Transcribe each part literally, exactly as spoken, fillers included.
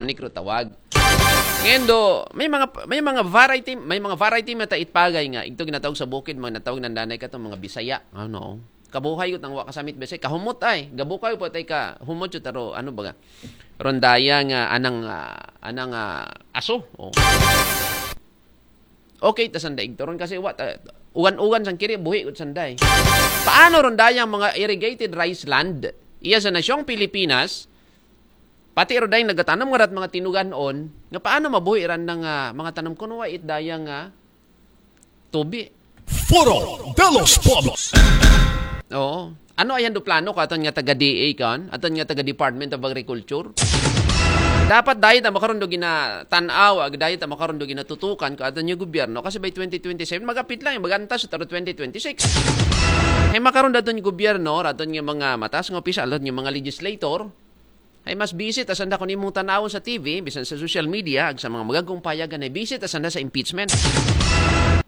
Negro tawag. Ngayon do, may mga may mga variety, may mga variety mata itpagay nga igto ginatawag sa bukid, mga natawag ng danay ka to, mga Bisaya. Ano? Kabuhay ko tang wa kasamit Bisaya, kahumot ay. Gabukay po tay ka humot yun, taro, ano ba? Rondaya nga anang ah, anang ah, aso. Oh. Okay, ta sanday igto ron kasi wa ta, ugan-ugan sang kiri buhi ko sanday. Paano ron dayang mga irrigated rice land iya sa nasyong Pilipinas? Pati ro dayang nagatanom nga rat mga tinuganon, nga paano mabuhi ran ng ah, mga tanom kuno wa it dayang nga tubi? Foro de los Pueblos. Oo. Ano ayan do plano ko aton nga taga D A kan? Aton nga taga Department of Agriculture? Dapat dahil ta makaroon do ginatanaw, ag dahil ta makaroon do ginatutukan ko aton nga gobyerno kasi by twenty twenty-seven magapit lang, magantas sa taro twenty twenty-six. Hay makaroon daton nga gobyerno, raton nga mga matas nga opisyal, daton nga mga legislator, ay mas busy ta sanda kun imong tanawon sa T V, bisan sa social media, ag sa mga magagong payagan ay busy ta sanda sa impeachment.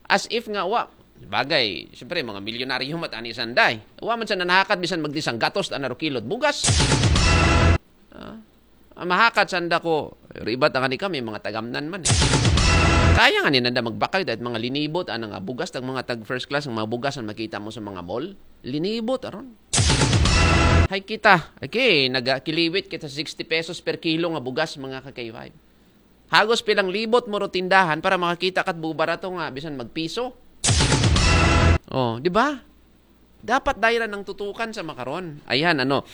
As if nga wa bagay, siyempre mga milyonaryo mat ani sanday. Wa man sa nanahakat bisan magdisang gatos ta na ro kilod bugas. Ah, ah, mahakat sanda ko. Ribat ang ani kami, mga tagamnan man eh. Kaya nga ni nanda magbakay dahil mga linibot, anang ah, bugas, tag mga tag first class, ang mga bugas ang makita mo sa mga mall. Linibot, aron. Hay kita, okay, nagakiliwit kita sixty pesos per kilo nga bugas, mga ka-K five. Hagos pilang libot mo ro tindahan para makakita kat bubarato nga bisan magpiso. Oh, di ba? Dapat dayra ng tutukan sa makaron. Ayan, ano,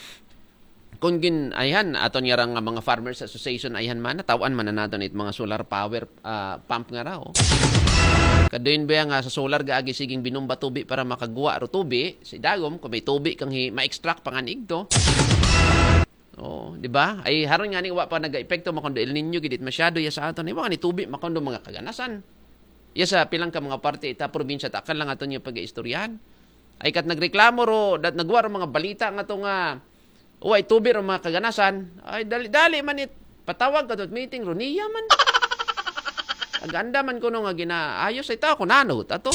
kung gin, ayan, aton nga rang mga farmers association, ayan man, natawan man na naton it mga solar power ah, pump nga raw. Kaduin ba nga sa solar gaagi siging binomba tubi para makagwa ro tubi, si dagom, kung may tubi kang hi, ma-extract panganig to. Oh, di ba? Ay haron nga ning wa pa nag-epekto makondo El Niño gidit masyado ya sa aton. Ay wa ni tubi makondo mga kaganasan. Ya sa pilang ka mga parte ita probinsya ta akal lang aton yung pag-istoryahan. Ay kat nagreklamo ro, dat nagwa ro mga balita nga to nga wa itubi ro mga kaganasan. Ay dali-dali man it patawag ka to meeting ro niya man. Aganda man kuno nga ginaayos ay tao ko nano tato.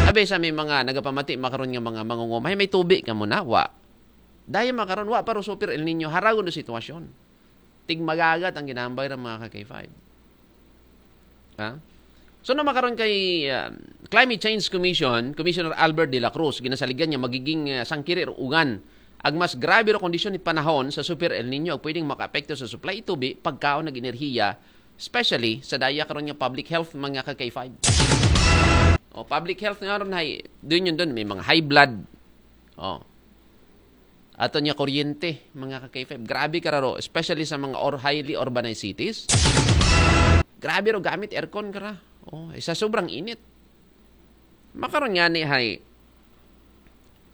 Abi sa may mga nagapamati makaron nga mga mangungumay may tubi ka muna wa. Dahil makaron wa pa ro super El Niño haragon do sitwasyon. Tigmagagat ang ginambay ng mga ka-K five. Ha? So na makaron kay ah, Climate Change Commission, Commissioner Albert de la Cruz, ginasaligan niya magiging ah, sangkiri ro ugan. Ag mas grabe ro kondisyon ni panahon sa Super El Nino ag pwedeng makaapekto sa supply tubi, pagkaon ag enerhiya, especially sa daya karon nga public health mga ka-K five. O public health nga ron hay, dun yun dun, may mga high blood. Oh. Ato niya kuryente, mga ka-K five. Grabe kararo, especially sa mga or highly urbanized cities. Grabe ro gamit aircon kara. Oh, isa sobrang init. Makaron nga ni hay.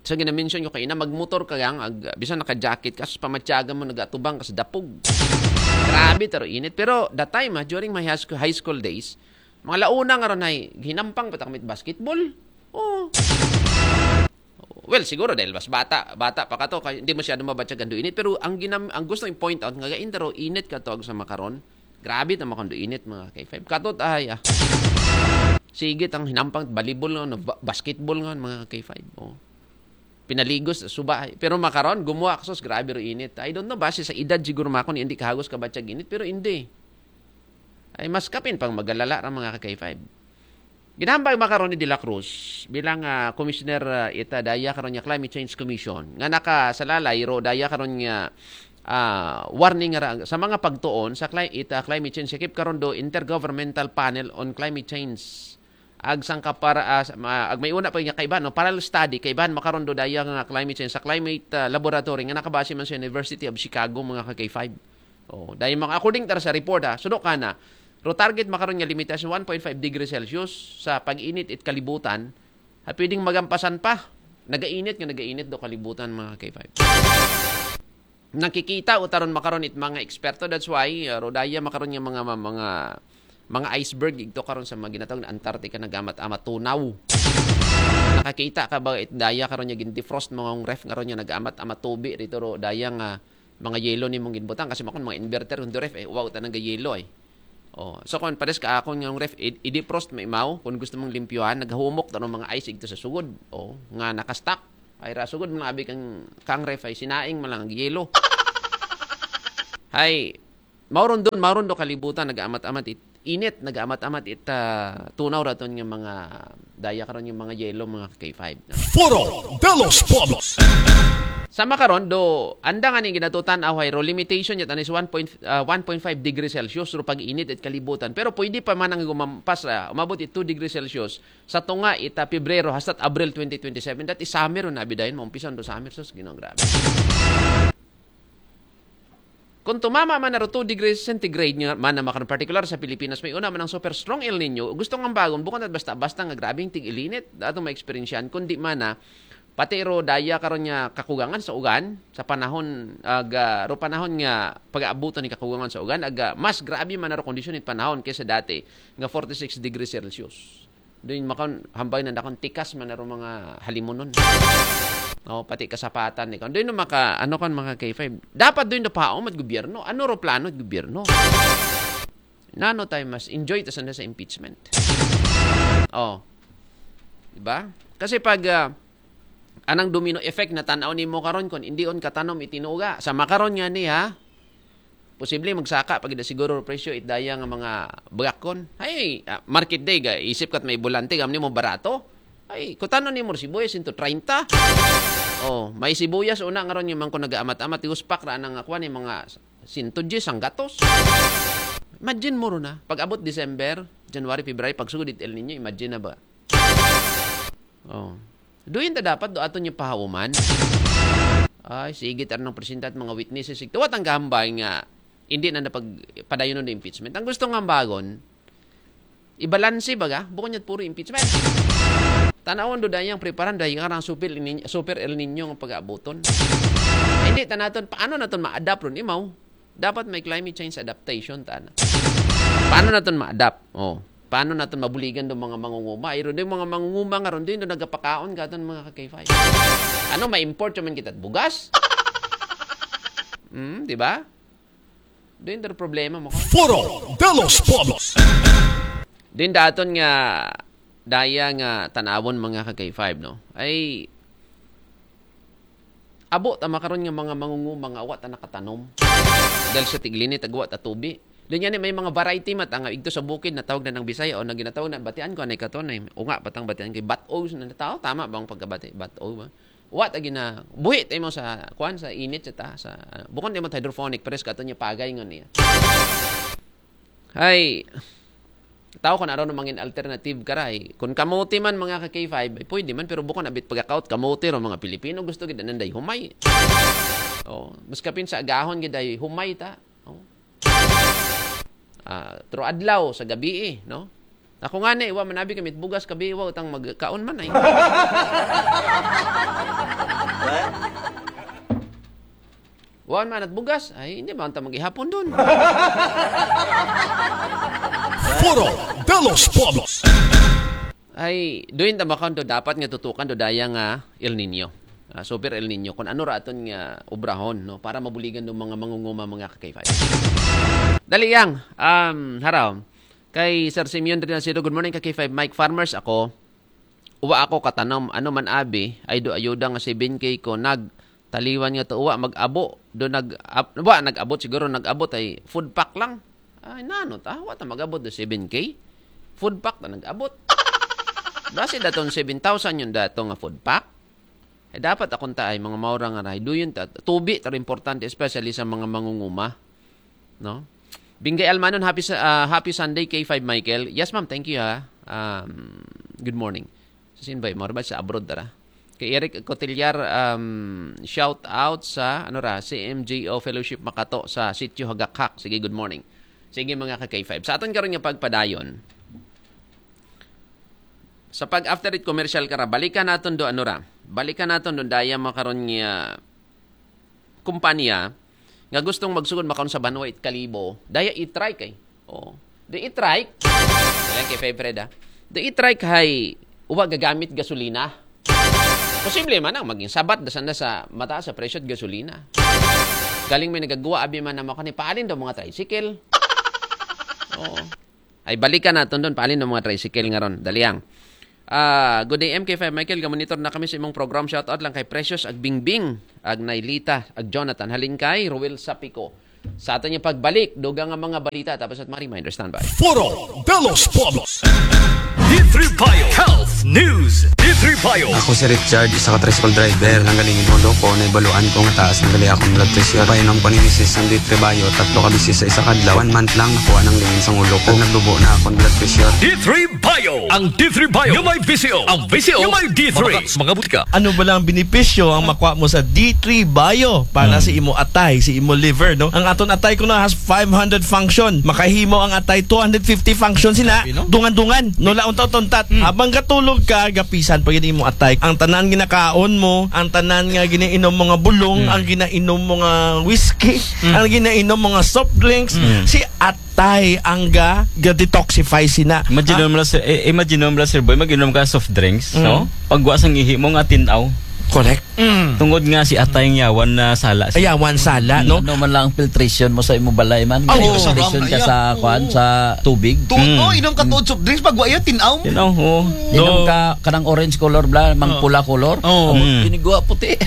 Sa gina-mention ko kaina, magmotor ka gang, ag, bisan naka-jacket ka, sus pamatyagan mo, nagatubang ka sa dapog. Grabe taro init. Pero that time, ah, during my high school, high school days, mga launa nga ron ay, hinampang pa ta kami basketball. Oh. Well, siguro dahil mas bata, bata pa ka to, kaya hindi masyado mabatyag ang init. Pero ang, ginam, ang gusto yung point out, nga gain taro, init ka to, ag sa makaron. Grabe ta makondo init, mga K five. Katot ay, ah. Sige, tang hinampang, volleyball nga, no, ba- basketball nga, mga K five. Oh. Pinaligos, suba. Ay. Pero makaron, gumuha ka, sus, grabe ro init. I don't know, base sa edad siguro makon, hindi kahagos ka batyag init, pero hindi. Ay, mas kapin pang magalala ra mga ka-K five. Ginambag makaron ni De La Cruz bilang ah, commissioner ah, ita daya karon nga Climate Change Commission nga nakasalalay ro daya karon nga ah, warning ra sa mga pagtuon sa cli- ita climate change, sakip karon do Intergovernmental Panel on Climate Change. Ag sangka para ah, sa- ma- ag may una pa nga kaiban, no, parallel study kaiban makaron do daya nga climate change sa climate ah, laboratory nga nakabase man sa University of Chicago, mga ka-K five. Oh, dahil mga according tar sa report ha, sudo ka na, ro target makaron nga limitasyon one point five degrees Celsius sa pag-init it kalibutan, ha, pwedeng magampasan pa. Nagainit nga nagainit do kalibutan, mga K five. Nakikita o taron makaron it mga eksperto, that's why uh, ro daya makaron nga mga mga mga iceberg igto karon sa mga ginatawag na Antarctica nagamat-amat tunaw. Nakakita ka ba it daya karon nga gin-defrost mga ref karon nga nagamat-amat tubi dito ro daya nga mga yelo ni mong ginbutang kasi makon mga inverter kung ref eh wow tanang yelo eh. Oh, so kung pares ka akon nga ref i-, i-defrost maimaw kung gusto mong limpyuhan naghumok tano mga ice igto sa sugod. Oh, nga nakastock. Ay ra sugod mga abi kang kang ref ay sinaing man lang ang yelo. Hay Mao ron don, mao ron do kalibutan, nagaamat-amat it init, nagaamat-amat it, ah, tunaw raton nga mga daya karon nga mga yelo, mga ka-K five, no? Foro de los Pueblos. Sama karon do, anda nga ni ginatutan away ro limitation yat anis one point, ah, one point five degrees Celsius ro pag-init it kalibutan. Pero pwede pa man ang gumampas, ah, umabot it two degrees Celsius sa tunga ita Pebrero hasta Abril twenty twenty-seven. That is summer ro na bidayon, maumpisan do summer, sus, Ginoo, grabe. Kung tumama man na ro two degrees centigrade nga man na makaron, particular sa Pilipinas, may una man ang super strong El Nino, gusto nga bagon, bukon at basta-basta nga grabing tig-ilinit atong maeksperiensyahan, kundi man na pati ro daya karon nga kakugangan sa ugan sa panahon, aga ro panahon nga pag-aabutan ni kakugangan sa ugan, aga mas grabe man na ro kondisyon it panahon kaysa dati nga forty-six degrees Celsius. Doon makaon, hambay na dakon tikas man na ro mga halimunon. O, pati kasapatan ni kon. Doon maka, ano kon, mga K five. Dapat doon do paom at gobyerno. Ano ro plano at gobyerno? Nano tayo mas enjoy ta sana sa impeachment? O. Diba? Kasi pag, ah, anang domino effect na tanaw nimo karon kon hindi on katanom itinuga. Sa makaron nga ni, ha? Posible magsaka pag ida siguro presyo it daya nga mga bagakon. Ay, ah, market day ga isip kat may bulante gamni mo barato. Ay, kutano ni mo sibuyas into treinta. Oh, may sibuyas una nga ron yung man ko nag-amat-amat, uspak ra nang akuan yung mga sento diyes ang gatos. Imagine mo ron na. Pag abot December, January, February, pag sugod it El Nino, imagine na ba? Oh. Doon ta dapat do aton yung pahauman. Ay, sige, tar ng presidente at mga witnesses. Sigtuwat ang gambay nga hindi na napagpadayon ng impeachment. Ang gusto nga bagon, ibalanse baga, bukon niya puro impeachment. Tanawon do dayang preparan dahil nga ng super, El Niño- super El Nino nga pag-aabuton. Hindi ta naton, paano naton ma-adapt ron, imaw? Dapat may climate change adaptation, tana. Paano naton ma-adapt? Oh. Paano naton mabuligan do mga mangunguma? Iro do mga mangunguma nga ron din do nagapakaon katon mga ka-K five. Ano, ma-import man kita bugas? Hmm, di ba? Doon do problema mo. Foro de los Pueblos. Din daton nga daya nga tanawon mga ka-K five, no? Ay abo ta makaron nga mga mangunguma nga wa ta nakatanom. Dahil sa tig-ilinit, agwa ta tubi. Doon yan, may mga variety mata nga igto sa bukid na tawag na ng Bisaya o na ginatawag na batian ko anay katon ay unga patang batian kay bat-o sa nataw, tama bang pagkabati? Bat-o ba? Wa ta gina buhi tayo mo sa kuan, sa init sa ta sa bukon tayo mo hydroponic, pero sa katon niya pagay nga niya. Ay, tao ko na ron mangin alternative karay. Kung kamote man mga ka-K five, ay pwede man, pero bukon abit pagkakaot kamote ro mga Pilipino, gusto gid nanday humay. Oh, mas kapin sa agahon gid ay humay ta. Oh. Ah, tro adlaw sa gabi eh, no? Ako nga ni, wa man abi kami bugas kabi, wa utang magkaon man ay. Wa man at bugas, ay hindi man ta maghihapon doon. Foro de los Pueblos. Ay, doon ta makaon do dapat nga tutukan do daya nga El Nino. Ah, super El Nino. Kung ano raton nga obrahon, no? Para mabuligan do mga mangunguma, mga ka-K five. Dali yang, um, haraw. Kay Sir Simeon Renacido, good morning ka-K five Mike. Farmers ako. Uwa ako katanom. Ano man abi, ay do ayuda nga seven K ko nag taliwan nga to uwa mag-abo. Do nag ab, wa nag-abot siguro, nag-abot ay food pack lang. Ay nano ta, wa ta mag-abot do seven K. Food pack ta nag-abot. Base daton seven thousand yung dato nga food pack. Eh, dapat akong taay mga maura nga rahay. Duyon ta, tubi ta importante, especially sa mga mangunguma. No? Bingay Almanon, happy sa- ah, happy Sunday K five Michael. Yes ma'am, thank you ha. Um, good morning. Sa sinbay, marbad sa abroad dara. Kay Eric Cotillar, um, shout out sa ano ra, C M G O Fellowship Makato sa Sitio Hagakhak. Sige, good morning. Sige mga ka K five. Sa aton karon nga pagpadayon, sa pag after it commercial kara, balikan naton do ano ra. Balikan naton do daya makaron nga kumpanya nga gustong magsugod makaon sa banwa it kalibo, daya i-try kay. Oh. Do i-try. Lang kay Fred ha. Do i-try kay uwa gagamit gasolina. Posible man ang maging sabat da sana sa mataas sa presyo at gasolina. Galing may nagagawa abi man naman kani paalin daw mga tricycle. Oo. Ay balikan naton doon paalin ng mga tricycle nga ron. Daliang. Ah, good day M K five Michael, gamonitor na kami sa imong program. Shout out lang kay Precious Agbingbing, Agnailita, Ag Jonathan, halin kay Ruel Sapico. Sa aton nga pagbalik, dugang nga mga balita, tapos at mga reminder, standby. Foro de los Pueblos. D three Bio Health News. D three Bio. Ako si Richard, isa ka tricycle driver. Nang galing ulo ko, naibaluan ko nga taas na gali akong blood pressure. Painom ko ni misis ang D three Bio, tatlo ka bisis sa isa ka adlaw. One month lang, nakuha nang lingin sa ulo ko. Naglubo na akong blood pressure. D three Bio. Ang D three Bio. Yung may V C O. Ang V C O. Yung may D three. Mabakat sa mga butika. Ano ba lang ang benepisyo ang makuha mo sa D three Bio para sa imo atay, sa imo liver, no? Ang aton atay kuno has five hundred function. Makahimo ang atay two hundred fifty function sina. Grabe, no? Dungan-dungan, no, la untat-untat. Habang gatulog ka, gapisan pa gyud imo atay. Ang tanan ginakaon mo, ang tanan nga ginainom mo nga bulong, ang ginainom mo nga whiskey, ang ginainom mo nga soft drinks, si atay ang ga, ga-detoxify sina. Imagine mo lang, sir, eh, imagine mo lang, sir boy, mag-inom ka soft drinks, no? Pagwa sang ihi mo nga tinaw. Correct. Tungod nga si atay ang yawan na sala. Ayawan sala, no? Ano man lang ang filtration mo sa imo balay man. Oh, May filtration ka sa, kuan, sa tubig. Tuod, oh, inom ka tuod soft drinks, pag wa iya, tinaw. Tinaw, oo. Inom ka kanang orange color bla, mang pula color. Oh. Oh, kinigwa puti.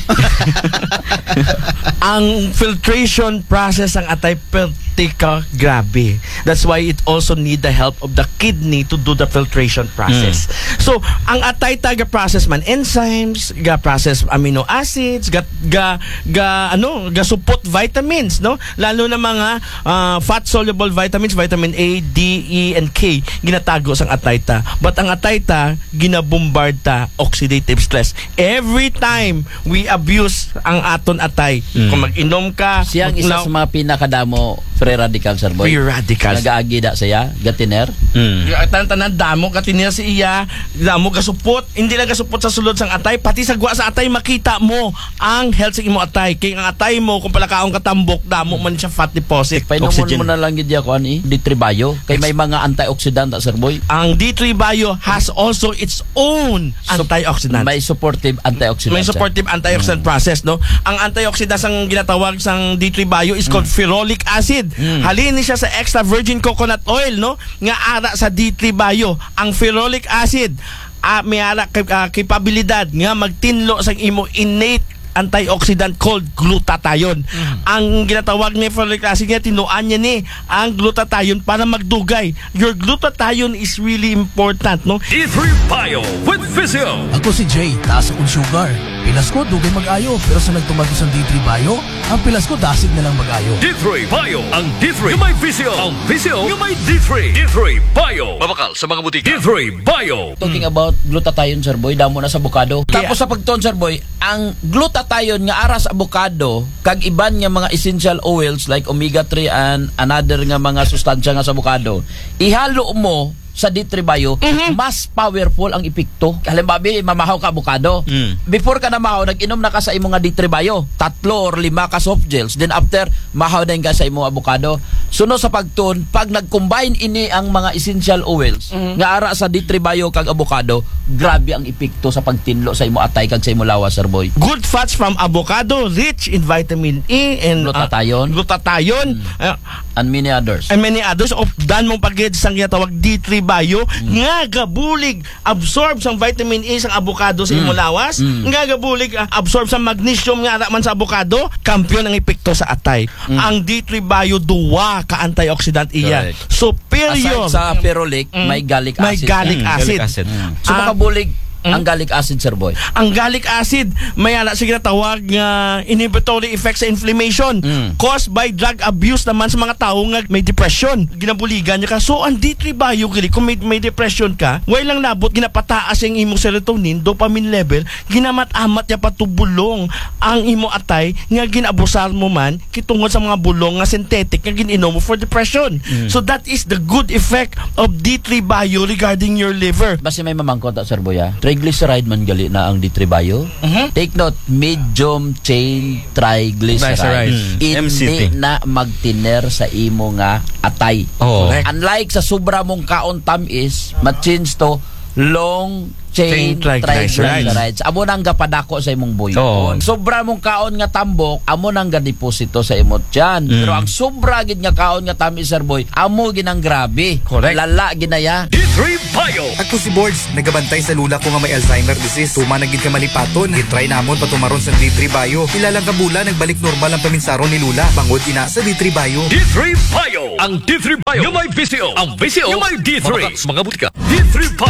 Ang filtration process ang atay pertika grabe. That's why it also need the help of the kidney to do the filtration process. So, ang atay ta ga process man enzymes, ga process amino acids, ga, ga, ga ano, ga support vitamins, no? Lalo na mga ah, fat soluble vitamins, vitamin A, D, E, and K, ginatago sang atay ta. But ang atay ta, ginabombard ta oxidative stress. Every time we abuse ang aton atay, kung mag-inom ka, Siya ang isa now- sa mga pinakadamo free radical, sir boy. Free radicals. Nagaagi da siya, gatiner. Mm. Tanan-tanan damo ka tiniya sa iya, damo gasupot, hindi lang gasupot sa sulod sang atay, pati sa gwa sa atay makita mo ang health sa imo atay. Kay ang atay mo kung palakaon ka tambok, damo man siya fat deposit. Painomon Oxygen. mo na lang gid ako ani, D three Bio. Kay may mga antioxidant, sir boy. Ang D three Bio has also its own antioxidant. May supportive antioxidant. May siya. supportive antioxidant process, no? Ang antioxidant sang ginatawag sang D three Bio is called ferolic acid. Halin ni siya sa extra virgin coconut oil, no? Nga ara sa D three Bio. Ang ferolic acid, ah, may ara kay, ah, kapabilidad nga magtinlo sang imo innate antioxidant called glutathione. Ang ginatawag ni ferolic acid nga tinuan niya ni ang glutathione para magdugay. Your glutathione is really important, no? D three Bio with Physio. Ako si Jay, taas akong sugar. Pilas ko, dugay mag-ayo. Pero sa nagtumag sa D three Bio, ang pilas ko, dasig na lang mag-ayo. D three Bio. Ang D three. Yung may V C O. Ang V C O. Yung may D three. D three Bio. Mabakal sa mga butika. D three Bio. Talking about glutathione, sir boy, damo na sa avocado. Tapos sa pagtuon, sir boy, ang glutathione nga ara sa avocado, kag iban nga mga essential oils like omega three and another nga mga sustansya nga sa avocado, ihalo mo sa D three Bio, mas powerful ang epekto. Halimbawa, mamahaw ka avocado. Before ka na mahaw, nag-inom na ka sa imo nga D three Bio. Tatlo or lima ka soft gels. Then after, mahaw din ka sa imo avocado. Suno sa pagtun, pag nag-combine ini ang mga essential oils nga ara sa D three Bio kag avocado, grabe ang epekto sa pagtinlo sa imo atay kag sa imo lawas, sir boy. Good fats from avocado, rich in vitamin E and uh, Glutathione. Glutathione. Uh, And many others. and many others of dan mong pagid sang ginatawag D three Bio nga gabulig absorb sang vitamin E sang avocado sa imong lawas, nga gabulig ah, absorb sa magnesium nga ara man sa avocado, kampiyon ang epekto sa atay. Ang D three Bio duwa ka antioxidant iya. Correct. Superior. Aside sa ferolic, may gallic May acid. gallic Mm, acid. gallic acid. So Ah, makabulig ang gallic acid, sir boy. Ang gallic acid, may ana siya ginatawag nga inhibitory effect sa inflammation caused by drug abuse naman sa mga tao nga may depression. Ginabuligan niya ka. So, ang D three Bio, gali, kung may, may depression ka, way lang labot, ginapataas ang imong serotonin, dopamine level, ginamat-amat niya patubulong ang imo atay nga ginabusar mo man kitungod sa mga bulong nga synthetic nga gin-inom mo for depression. So, that is the good effect of D three Bio regarding your liver. Basi may mamangkot ta, sir boy, ah. Triglyceride man gali na ang D three Bio. Take note, medium chain triglyceride. Triglyceride. Mm. Hindi M C T. na magtiner sa imo nga atay. Oh. Correct. Unlike sa sobra mong kaon tamis, ma-change to long chain, Chain triglycerides. Triglycerides. Amo nang gapadako sa imong buyon. Oo. Sobra mong kaon nga tambok, amo nang gadeposito sa imong tiyan. Mm. Pero ang sobra gid nga kaon nga tamis, sir boy, amo gid ang grabe. Correct. Lala gid na ya. D three Bio. Ako si Borge, nagabantay sa lula ko nga may Alzheimer disease. Tuma na gid ka malipaton. Gitry namon patumaron sa D three Bio. Pila lang ka bulan, nagbalik normal ang paminsaron ni lula. Bangod ina sa D three Bio. D three Bio. Ang D three Bio. Yung may visyo. Ang visyo. Yung may D three. Mga, mga butika. D three Bio.